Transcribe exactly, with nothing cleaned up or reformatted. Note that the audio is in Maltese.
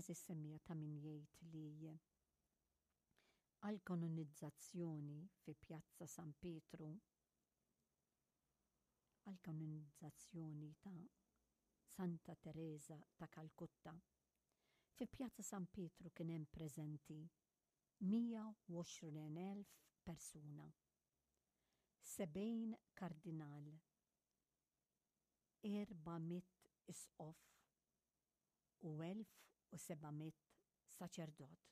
Għeżież semmiegħa, ta' min jgħid li għal-kanonizzazzjoni fi Pjazza San Pietru, għal-kanonizzazzjoni ta' Santa Teresa ta' Kalkutta, fi Pjazza San Pietru kien hemm preżenti mija u għoxrin elf persuna, sebgħin kardinal, erba' mitt isqof u elf u seba' mitt saċerdot.